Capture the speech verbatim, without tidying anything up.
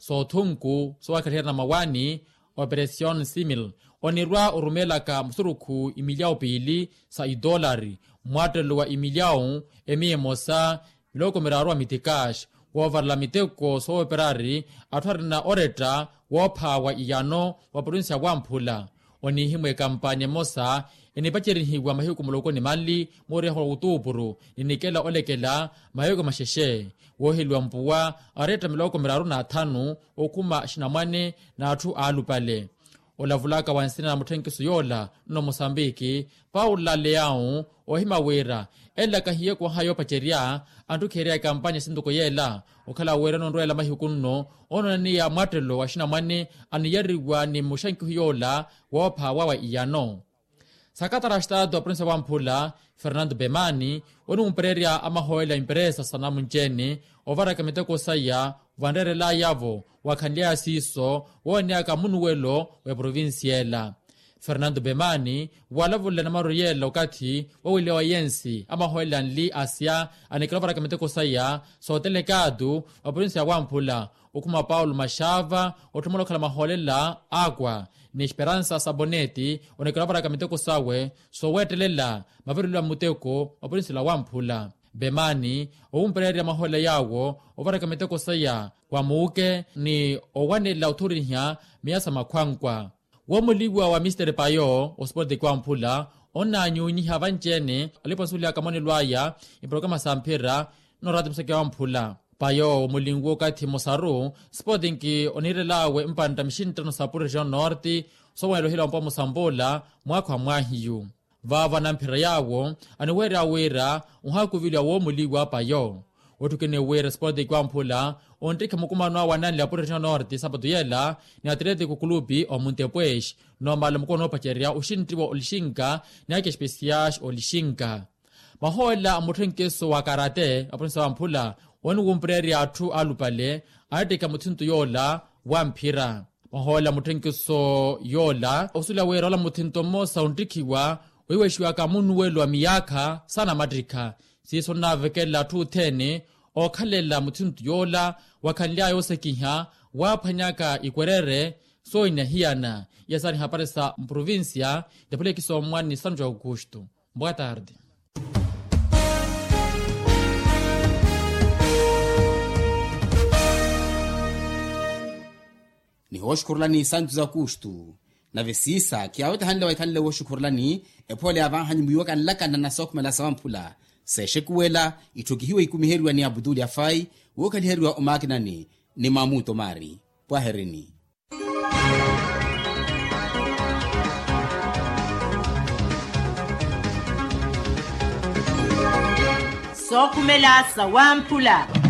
soothunku soowakhaliherya na mawaani, operation simil, onirwa orumeelaka musurukhu imilyawu piili sa itoolari, mmwattelo wa imilyawu emiya emosa, miloko miraaru wa mitikaxi, woovarela miteko soowoperari atthu arina oretta woopha wa iyano wa provincia wamphula. Onihimwa ekampanya emosa enipacerihiwa mahiku muloko ni manli mooriha wa otuupuru, ni nikela olekela mahiku maxexe, wooheliwa mpuwa aretta miloko miraaru n'athanu okhuma axinamwane n'atthu aalupale. Olavulaka wa nsina na mutthenkiso yoola nno mosambiki, paula leawu, oohima wira ela kahiye kooha yoopacerya antthukherya ekampanya sintuko yeela, okhala wira ononrweela mahiku nno onoonaniya mwattelo wa axinamwane aniyariwa ni muxankihu yoola woopha wawa iyano. Sakatara a xitaatu wa provincia wamphula, fernando bemani, oniwumpererya amahooyela a emperesa sa namunci-ene ovaraka miteko saya vanreerelaya-vo, wakhanlyaya siiso wooneyaka munuwelo wa eprovincia ela. Fernando bemani, walavulele namaru yeela okathi waweliwa yensi amahooyela anli asya, anikela ovaraka miteko saya sootelekaatu wa provincia wamphula, okhuma paulo maxava otthumela okhala mahoolela akwa, ni esperansa saboneti onekela ovaraka miteko sawe sooweettelela mavirelo a muteko wa purinsila wamphula. Bemani, owumpererya mahoolela yaawo ovaraka miteko saya wa muuke ni owanela othoriha miya sa makhwankwa. Woomuliwa wa mister payo osipoteki wamphula onnaanyunyiha vanci-ene alipa onsuwelihaka monelo aya iporokarama sa mphira, noorati museke wamphula. Payo mulinwo okathi mmosaru, sipotinki oniirelaawe mpantta mixinttano sa purixion norte soowanela ohila wampuwa musampoola mwaakha wa mwaahiyu. Vaavo anamphira yaawo aniweerya wira onhaakuviliwa woomuliwa payo. Wetthukene wira sipotinki wamphula onttikha mukumano awe ananli a purixion norte sapato yeela ni atleetiko kulupi omuntepwexi, nnoomala mukumano oopacerya oxinttiwa olixinka ni ake espesiyaxi olixinka. Mahoolela a mutthenkiso wa karate a provincia wamphula oniwumpererya atthu alupale anattikha muthinto yoola wa mphira. Mahoolela a mutthenkiso yoola osuwela wira ola muthinto mmosa onttikhiwa ohiwexiwaka munuwelo wa miyaakha sa namattikha. Siiso onnaavekela atthu othene ookhalela muthinto yoola wakhanlyaya oosekiha waaphwanyaka ikwerere soohina hiyana. Iya saari hapari sa mprovincia. Ntapulekisa omwani santu ja aukustu. Boa tarde. Nihooxukhurulani santu za kustu. Nave siisa khiyaawetahanle waikhanle wooxukhurulani. Ephoole yaavanhanyu mwiiwaka nlakana na sookhumela sawamphula seexekuwela itthukihiwe ikumiheriwa ni abutuli afai wookhaliheriwa omaakinani ni mamuto maari. Pwaherini. Sookhumela sawamphula.